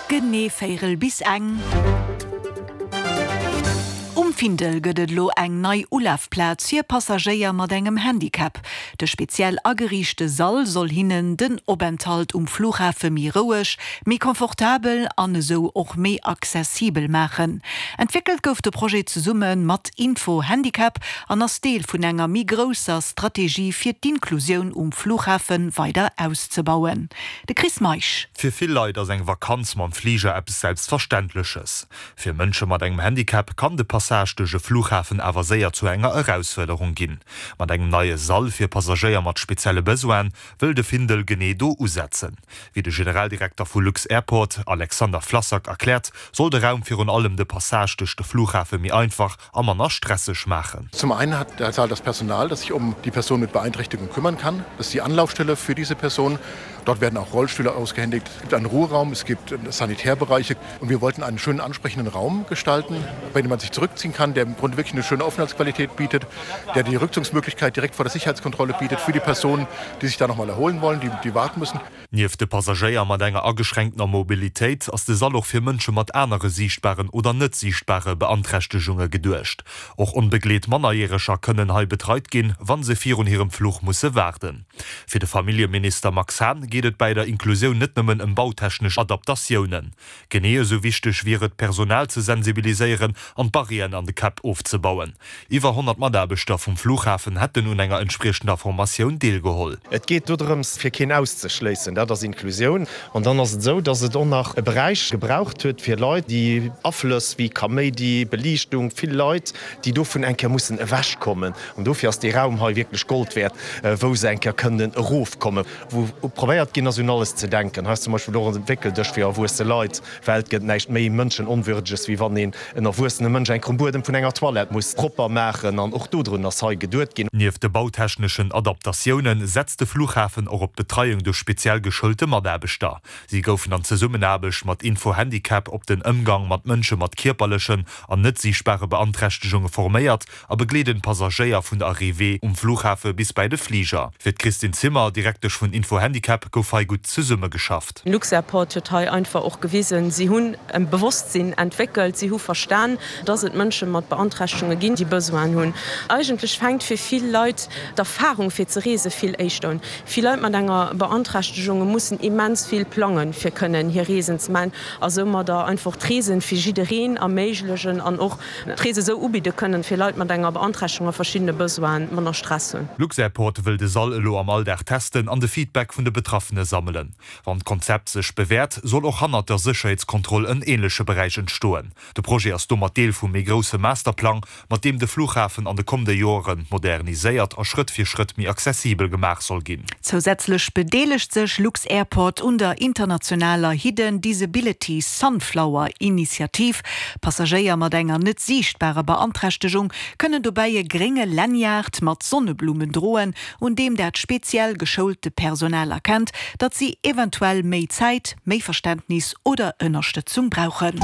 Genee véirel bis eng. Um Findel gëtt et elo eng nei Ulafplaz fir Passagéier mat engem Handicap. De speziell ageriichte Sall soll hinnen den Openthalt um Flughafe méi roueg, méi confortabel an esou och méi accessibel maachen. Entwéckelt gouf de Projet zesumme mat Info Handicap an ass Deel vun enger méi grousser Strategie fir d'Inklusioun um Flughafe weider auszebauen. De Chris Meisch. Fir vill Leit ass eng Vakanz mam Fliger eppes Selbstverständleches. Fir Mënsche mat engem Handicap kann de Passage duerch e Flughafen awer séier zu enger Erausfuerderung ginn. Mat engem neie Sall fir Passagéier mat spezielle Besoine wëll de Findel genee do usetzen. Wéi de Generaldirekter vu lux-Airport, Alexander Flassak, erkläert, soll de Raum virun allem de Passage duerch de Flughafe méi einfach a manner stresseg maachen. Zum einen hat der Saal das Personal, das sich um die Person mit Beeinträchtigung kümmern kann. Das ist die Anlaufstelle für diese Person. Dort werden auch Rollstühle ausgehändigt. Es gibt einen Ruheraum, es gibt Sanitärbereiche und wir wollten einen schönen ansprechenden Raum gestalten, bei dem man sich zurückziehen kann, der im Grunde wirklich eine schöne Aufenthaltsqualität bietet, der die Rückzugsmöglichkeit direkt vor der Sicherheitskontrolle bietet für die Personen, die sich da noch mal erholen wollen, die, die warten müssen. Nieft de Passagéier mat enger ageschränktener Mobilitéit ass de Sall och fir Mënsche mat anere siichtbaren oder net siichtbare Beanträchtegunge geduecht. Och onbegleet Mannerjäreger kënnen hei betreit ginn, wa se virun hirem Fluch musse waarden. Fir de Familljeminister Max Hahn geet et bäi der Inklusioun net nëmmen ëm bautechnesch Adaptatiounen. Genee esou wichteg wier et, d'Personal ze sensibiliséieren an d'Barrièren an de Käpp ofzebauen. Iwwer 100 Mataarbechter vum Flughafen hätten un enger entspriechender Formatioun deelgeholl. Et geet dodrëms, fir keen auszeschléissen. Dat ass Inklusioun. An dann ass et esou, datt et och nach e Beräich gebraucht huet fir Leit, déi Aflëss wéi Kaméidi, Beliichtung, vill Leit, déi dovun eng Kéier mussen ewechkommen. An dofir ass dee Raum hei wierklech Gold wäert, wou se eng Kéier kënnen erofkommen, wou probéiert ginn ass, un alles ze denken. Hei ass zum Beispill och e Wéckeldësch fir erwuesse Leit, well et gëtt näischt méi Mënschenonwürdeges, wéi wann een en erwuessene Mënsch eng Kéier um Buedem vun enger Toilette muss propper maachen. An och dodrun ass hei geduet ginn. Nieft de bautechneschen Adaptatioune setzt de Flughafen och op d'Betreiung duerch speziell geschoulte Mataarbechter. Si goufen an Zesummenaarbecht mat Info-Handicap op den Ëmgang mat Mënsche mat kierperlechen an net siichtbare Beanträchtegunge forméiert a begleeden d'Passagéier vun der Arrivée um Flughafe bis bäi de Fliger. Fir d'Christine Zimmer, Direktesch vun Info-Handicap, gouf hei gutt zesummegeschafft. Lux-Airport huet hei einfach och gewisen, si hunn e Bewosstsinn entwéckelt, si hu verstan, dass et Mënsche mat Beanträchtegunge ginn, déi Besoinen hunn. Eigentlech fänkt fir vill Leit d'Erfarung fir ze reese vill éischter un. Vill Leit mat enger Beanträchtegunge mussen immens vill plangen, fir kënnen hir Reesen ze maachen a soumadder einfach d'Reesen fir jiddereen erméiglegen an och D'Rees esou ubidde kënnen, fir Leit mat enger Beanträchtegung a verschiddene Besoinen manner Stress hunn. Lux-Airport wëll de Sall elo am Alldag testen an de Feedback vun de Betraffene sammelen. Wann d'Konzept sech bewäert, soll och hannert der Sécherheetskontroll en änleche Beräich entstoen. De Projet ass domat Deel vum méi grousse Masterplang, mat deem de Flughafen an de kommende Joere moderniséiert a Schrëtt fir Schrëtt méi accessibel gemaach soll ginn. Zousätzlech bedeelegt sech lux-Airport un der internationaler Hidden Disability Sunflower Initiativ. Passagéier mat enger net siichtbarer Beanträchtegung kënnen dobäi e grénge Lanyard mat Sonneblummen droen, un deem dat speziell geschoulte Personal erkennt, datt si eventuell méi Zäit, méi Verständnis oder Ënnerstëtzung brauchen.